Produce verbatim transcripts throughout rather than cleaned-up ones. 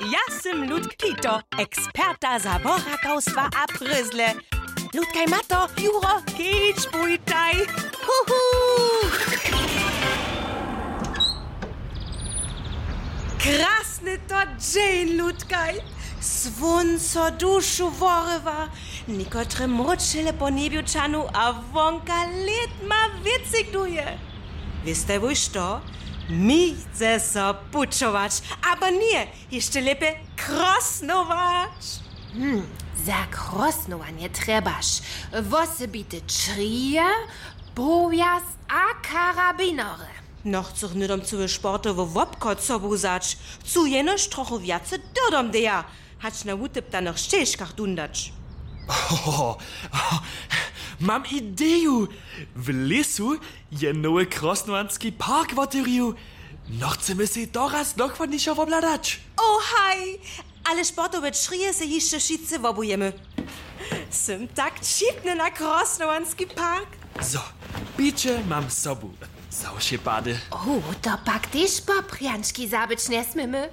Ja sym Ludk Kito, eksperta za worakawstwa a prězle. Ludkaj, Mato, Juro, kedź, pójtaj. Huhu! Krasny to dźeń, Ludkaj. Słónco dušu worywa. Někotre mróčele po njebju čanu a wonka lět ma wěcygnuje. Wěstaj wój što? Mi chce so pućować. Abo ně, hišće lěpje krosnować. Hm, za krosnowanje trjebaš wosebite črije, powjaz a karabinary. No, chcych hnydom cyły sportowy wobchod sobu wzać. Chcu jenož trochu wjace dyrdomdeja, hač na wutyptanych šćežkach dundać. Ho, ho, ho, mam ideju! W lěsu je nowy krosnowanski park wotewrił. No, chcemy sej to raz dochładnišo wobhladać. O haj, ale sportowe črije sej hišće wšitcy wobujemy. Sym tak ćipny na krosnowanski park. Zo, piće mam sobu. Za wšě pady. O, to pak tež poprjančki zabyć njesměmy.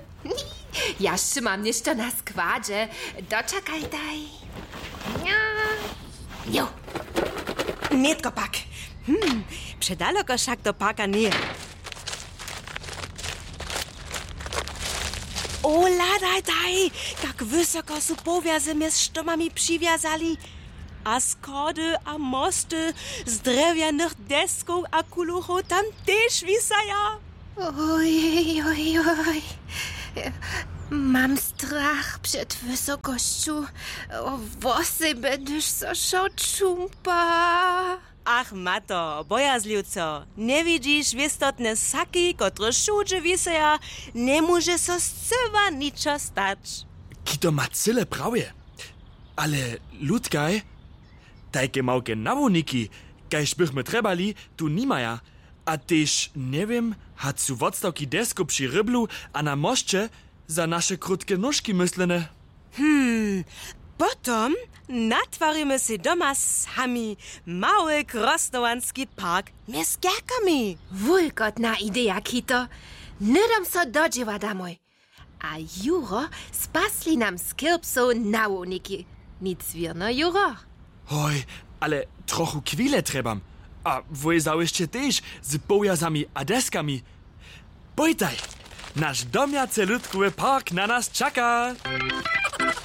Ja sće mam něšto na składźe. Dočakajtaj. Jo. Nětko pak. Hm, předaloko wšak do parka njeje. O, hladajtaj, kak wysoko su powjaze mjez štomami přiwjazali. A schody a mosty z drjewjanych deskow a kuluchow tam tež wisaja. Oj, oj, oj. Mam strach před wysokosću, wosebje hdyž so wšo čumpa. Ach, Mato, bojazliwco, njewidźiš wěstotne saki, kotrež wšudźe wisaja? Njemóže so scyła ničo stać. Kito ma cyle prawje. Ale, Ludkaj, tajke małke nawołniki, kaž bychmy trjebali, tu nimaja. A tež njewěm, hač su wotstawki deskow při ryblu a na mosće za naše krótke nóžki myslene. Hm, potom natwarimy sej doma sami mały krosnowanski park mjez kerkami. Wulkotna ideja, Kito. Hnydom so do dźěła damoj. A Juro spasli nam z kirpsow nawołniki. Nic wěrno, Juro? Hoj, ale trochu chwile trjebam. A wój zawěsće tež z powjazami a deskami. Pójtaj, naš domjace lutkowy park na nas čaka.